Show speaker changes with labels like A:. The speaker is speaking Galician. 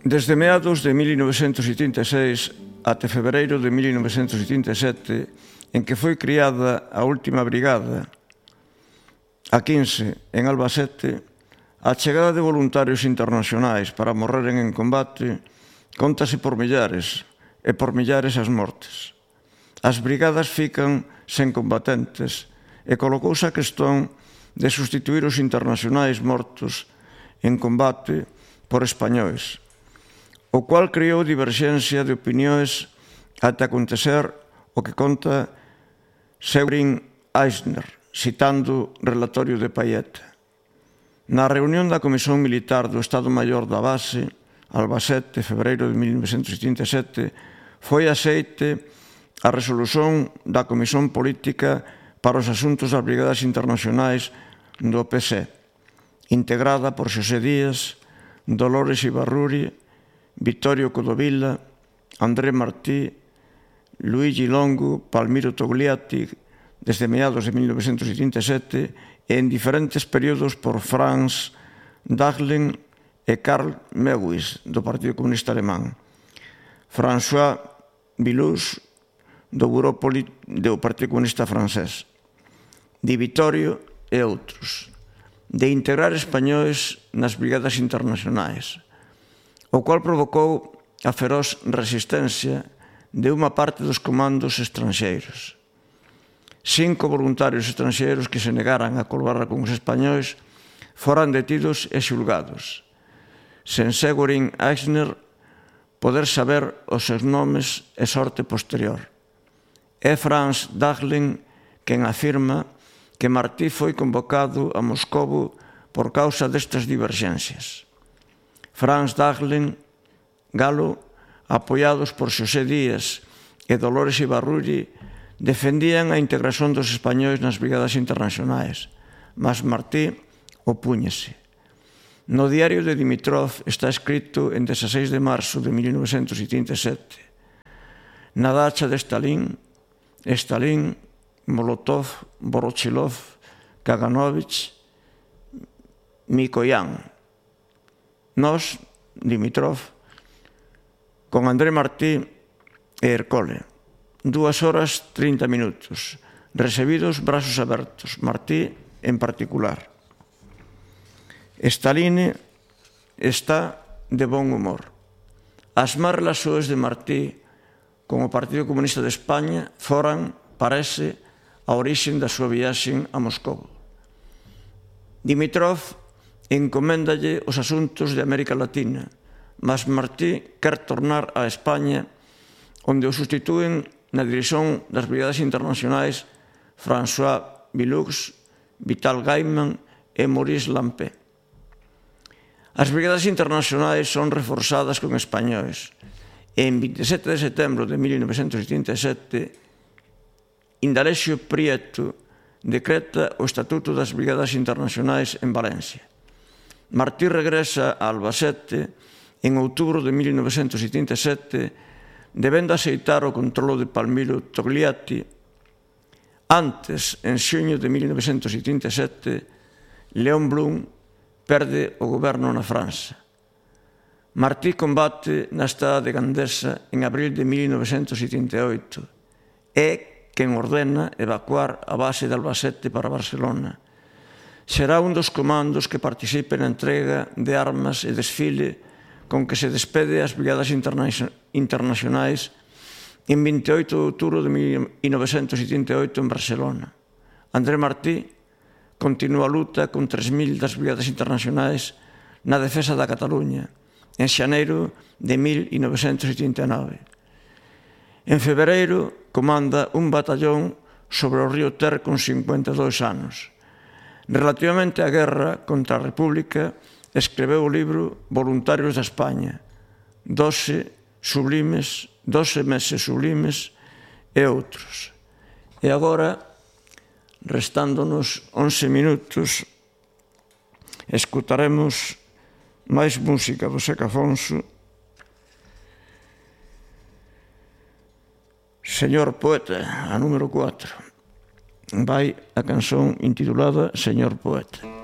A: Desde meados de 1986 até febreiro de 1987, en que foi criada a última brigada, a 15, en Albacete, a chegada de voluntarios internacionais para morreren en combate contase por millares, e por millares as mortes. As brigadas fican sen combatentes e colocouse a questón de sustituir os internacionais mortos en combate por españois, o cual creou diverxencia de opinións ata acontecer o que conta Seurin Eisner, citando o relatorio de Payet. Na reunión da Comisión Militar do Estado Maior da Base, Albacete, febreiro de 1977, foi aceite a resolución da Comisión Política para os Asuntos das Brigadas Internacionais do PC, integrada por Xosé Díaz, Dolores Ibarruri, Vittorio Codovilla, André Martí, Luigi Longo, Palmiro Togliatti, desde meados de 1987, e en diferentes períodos por Franz Dahlen e Karl Mewis, do Partido Comunista Alemán, François Villous, do Bureau do Partido Comunista Francés, Di Vittorio e outros, de integrar españois nas brigadas internacionais, o cual provocou a feroz resistencia de unha parte dos comandos estranxeiros. 5 voluntarios estranxeiros que se negaran a colaborar con os españois foran detidos e xulgados, sen Seurin Eisner poder saber os seus nomes e sorte posterior. É Franz Dahlen quen afirma que Martí foi convocado a Moscovo por causa destas diverxencias. Franz Dahlen, galo, apoiados por Xosé Díaz e Dolores Ibarruri, defendían a integración dos españois nas brigadas internacionais, mas Martí opúñese. No diario de Dimitrov está escrito en 16 de marzo de 1987: na dacha de Stalin, Molotov, Voroshilov, Kaganovich, Mikoyan. Nós, Dimitrov, con André Martí e Ercole, 2 horas 30 minutos, recibidos brazos abertos, Martí en particular. Stalin está de bon humor. As más relacións de Martí con o Partido Comunista de España foran, parece, a orixen da súa viaxe a Moscou. Dimitrov encoméndalle os asuntos de América Latina, mas Martí quer tornar a España, onde o sustitúen na dirección das brigadas internacionais François Villous, Vital Gaiman e Maurice Lampé. As brigadas internacionais son reforzadas con españois e en 27 de setembro de 1987 Indalecio Prieto decreta o Estatuto das Brigadas Internacionais en Valencia. Martí regresa a Albacete en outubro de 1987, debendo aceitar o controlo de Palmiro Togliatti. Antes, en xuño de 1987, Léon Blum perde o goberno na França. Martí combate na estada de Gandesa en abril de 1988. É quen ordena evacuar a base de Albacete para Barcelona. Será un dos comandos que participe na entrega de armas e desfile con que se despede as brigadas internacionais en 28 de outubro de 1988 en Barcelona. André Martí continúa a luta con 3.000 das brigadas internacionais na defensa da Cataluña en xaneiro de 1989. En febreiro comanda un batallón sobre o río Ter con 52 anos. Relativamente á guerra contra a República, escreveu o libro Voluntarios da España, 12 meses sublimes e outros. E agora, restándonos 11 minutos, escutaremos máis música do Seca Afonso. Señor Poeta, a número 4. Vai a canción intitulada Señor Poeta.